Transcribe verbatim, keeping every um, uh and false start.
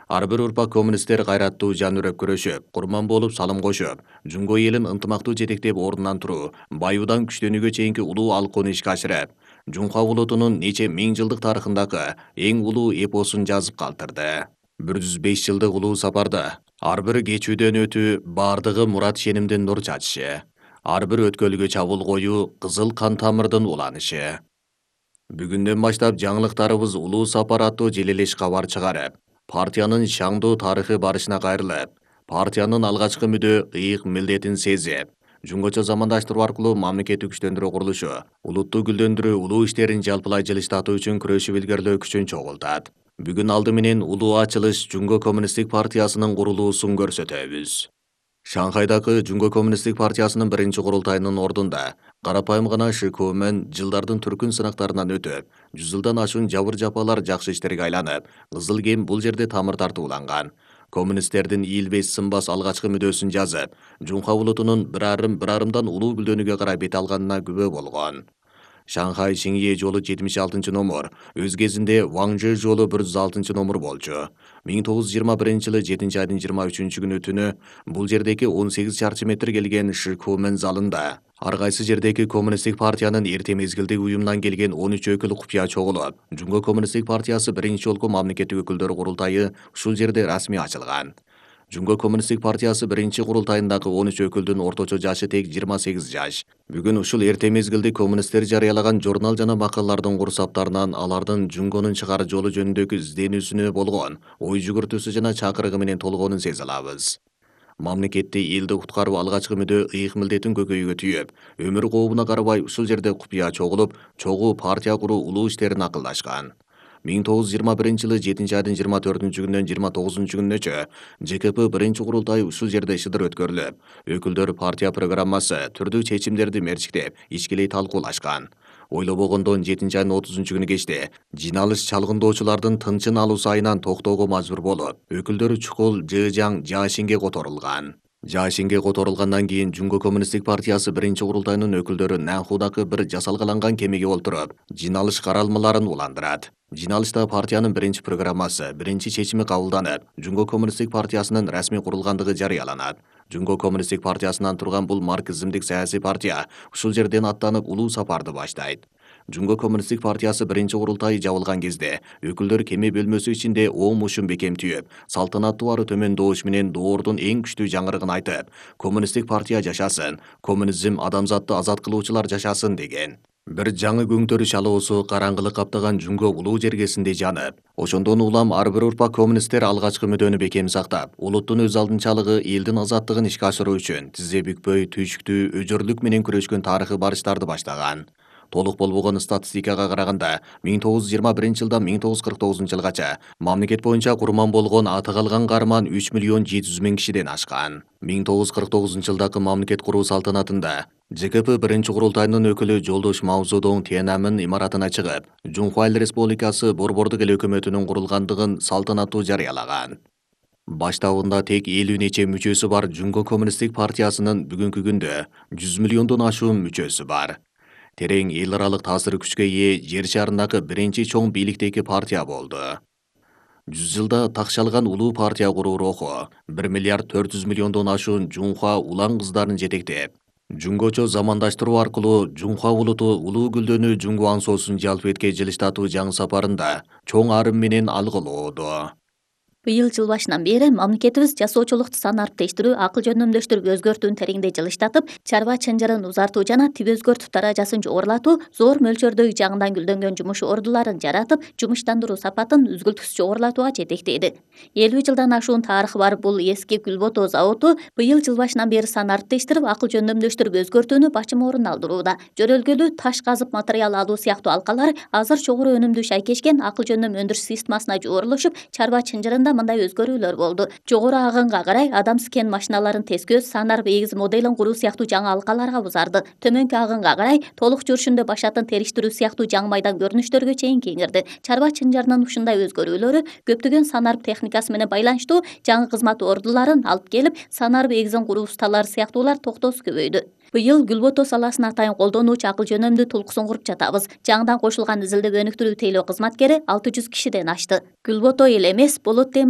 Ар бир урпак коммунисттер кайраттуу жан үрөп күрөшүп, курман болуп салым кошуп, Жунго элин ынтымактуу жетектеп ордунан туруу, байуудан күчтөнүүгө чейинки улуу алкууну ишке ашырып, Жунха улутунун нече миң жылдык тарыхындагы эң улуу эпосун жазып калтырды. бир жүз беш жылдык улуу сапарда ар бир кечүүдөн өтүү, бардыгы мурат ишенимдин нур чачышы, ар бир өткөлгө чабуул коюу, кызыл кан тамырдын уланышы. Бүгүндөн баштап жаңылыктарыбыз улуу сапар аттуу желелеш кабар чыгарып, партиянын шаңдуу тарыхы барышына кайрылып, партиянын алгачкы мүдө ыйык милдетин сезип, Жунгочо замандаштыруу аркылуу мамлекеттик күчтөндүрүү курулушу, улутту гүлдөндүрүү, улуу иштерин жалпылай жылыштатуу үчүн күрөшүп илгерлөө күчүн чогултат. Бүгүн алды менен улуу ачылыш Жунго коммунисттик партиясынын курулуусун көрсөтөбүз. Шанхайдагы Жунго коммунисттик партиясынын биринчи курултайынын ордунда карапайым гана шыкуумен жылдардын түркүн сынактарынан өтүп, жүз жылдан ашуун жабыр жапалар жакшы иштерге айланып, кызыл кем бул жерде тамыр тартууланган. Коммунисттердин ийилбес сынбас алгачкы мүдөөсүн жазып, Жунха улутунун бир арым бир арымдан улуу гүлдөнүүгө карай бет алганына күбө болгон. Шанхай Шинье жолу жетимиш алтынчы номер, өз кезинде Ваңжы жолу бир жүз алтынчы номер болчу. миң тогуз жүз жыйырма биринчи жылы жетинчи айдын жыйырма үчүнчү күнү түнү бул жердеги он сегиз чарчы метр келген Шикумен залында ар кайсы жердеги коммунисттик партиянын эрте мезгилдеги уюмунан келген он үч өкүл купуя чогулуп, Жунго коммунисттик партиясы биринчи жолку мамлекеттик өкүлдөр курултайы ушул жерде расмий ачылган. Жунго коммунисттик партиясы биринчи курултайындагы он үч өкүлдүн орточо жашы тек жыйырма сегиз жаш. Бүгүн ушул эрте мезгилде коммунисттер жарыялаган журнал жана макалалардын курсаптарынан алардын Жунгонун чыгаар жолу жөнүндөгү изденүүсүнө болгон ой жүгүртүүсү жана чакырыгы менен толгоонун сезе алабыз. Мамлекетти элди куткаруу алгачкы мүдөө ыйык милдетин көкөйгө түйүп, өмүр кообуна карабай ушул жерде купуя чогулуп, чогуу партия куруу улуу иштерин акылдашкан. миң тогуз жүз жыйырма биринчи жылы жетинчи айдын жыйырма төртүнчү күнүнөн жыйырма тогузунчу күнүнөчө ЖКП биринчи курултайы ушул жерде шыдыр өткөрүлүп, өкүлдөр партия программасы, түрдүү чечимдерди мерчиктеп, ичкилей талкуулашкан. Ойлобогондон жетинчи айдын отузунчу күнү кечте жиналыш чалгындоочулардын тынчын алуу сайынан токтоого мажбур болуп, өкүлдөр чукул Жыжаң Жашинге которулган. Жашинге которулгандан кийин Жунго коммунисттик партиясы биринчи курултайынын өкүлдөрү Нанхудагы бир жасалгаланган кемеге олтуруп, жиналыш каралмаларын уландырат. Жиналышта партиянын биринчи программасы, биринчи чечими кабылданып, Жунго коммунисттик партиясынын расмий курулгандыгы жарыяланат. Жунго коммунисттик партиясынан турган бул марксизмдик саясий партия ушул жерден аттанып улуу сапарды баштайт. Жунго коммунисттик партиясы биринчи курултайы жабылган кезде өкүлдөр кеме бөлмөсү ичинде оң мушун бекем түйүп, салтанаттуу ары төмөн добуш менен доордун эң күчтүү жаңырыгын айтып, коммунисттик партия жашасын, коммунизм адамзатты азат кылуучулар жашасын деген. Бир жаңы көңтөрү шалоосу караңгылык каптаган Жунго улуу жергесинде жанып, ошондон улам ар бир урпак коммунисттер алгачкы мүдөнү бекем сактап, улуттун өз алдынчалыгы, элдин азаттыгын ишке ашыруу үчүн тизе бүкпөй, түйшүктүү, өжөрлүк менен күрөшкөн тарыхый барыштарды баштаган. Толук болбогон статистикага караганда, миң тогуз жүз жыйырма биринчи жылдан миң тогуз жүз кырк тогузунчу жылгача мамлекет боюнча курман болгон аты калган каарман үч миллион жети жүз миң кишиден ашкан. миң тогуз жүз кырк тогузунчу жылдагы мамлекет куруу салтанатында ЖКП биринчи курултайынын өкүлү Жолдош Мао Цзэдун Тиананмын имаратына чыгып, Жунхуа Эл Республикасы Борбордук эл өкмөтүнүн курулгандыгын салтанаттуу жарыялаган. Баштабында тек элүү нече мүчөсү бар Жунго коммунисттик партиясынын бүгүнкү күндө жүз миллиондон ашуун мүчөсү бар. Терең эл аралык таасир күчкө ээ жер шарындагы биринчи чоң бийликтеги партия болду. жүз жылда такшалган улуу партия куруу руху бир миллиард төрт жүз миллиондон ашуун Жунхуа улан кыздарын жетектеп, Жунгочо замандаштыруу аркылуу Жунхуа улуту улуу гүлдөнүү Жунгу аңсоосун жалп эткен жылыштатуу жаңы сапарында чоң арым менен алгылоодо. Быйыл жыл башынан бери мамлекетибиз жасоочулукту санариптештирүү, акыл жөндөмдөштүрүп өзгөртүүнү тереңдей жылыштатып, чарба чынжырын узартуу жана тип өзгөртүп даражасын жогорулатуу, зор мөлчөрдөгү жаңыдан гүлдөнгөн жумуш ордуларын жаратып, жумуштандыруу сапатын үзгүлтүксүз жогорулатууга жетектейди. элүү жылдан ашуун тарыхы бар бул эски Гүлбото заводу быйыл жыл башынан бери санариптештирип, акыл жөндөмдөштүрүп өзгөртүүнү бачым орун алдырууда. Жөрөлгөлүү таш казып материал алуу сыяктуу алкалар азыр чогуу өнүмдүү шайкешкен акыл жөндөм өндүрүш системасына жуурулушуп, чарба чынжырында мындай өзгөрүүлөр болду. Жогору агынга карай адам скен машиналарын тескөөз, санарып эгиз моделин куруу сыяктуу жаңы алкаларга узарды. Төмөнкү агынга карай толук жүрүшүндө башатын териштирүү сыяктуу жаңы майдан көрүнүштөргө чейин кеңирди. Чарба чынжырынын ушундай өзгөрүүлөрү көптөгөн санарып техникасы менен байланыштуу жаңы кызмат ордуларын алып келип, санарып эгизин куруу усталары сыяктуулар токтоосу көбөйдү. Быйыл Гүлбото саласына атайын колдонуучу акыл жөнөмдүү тулкусын куруп жатабыз. Жаңыдан кошулган изилдеп өнүктүрүү тейлөө кызматкери алты жүз кишиден ашты. Гүлбото эле эмес, Болот темир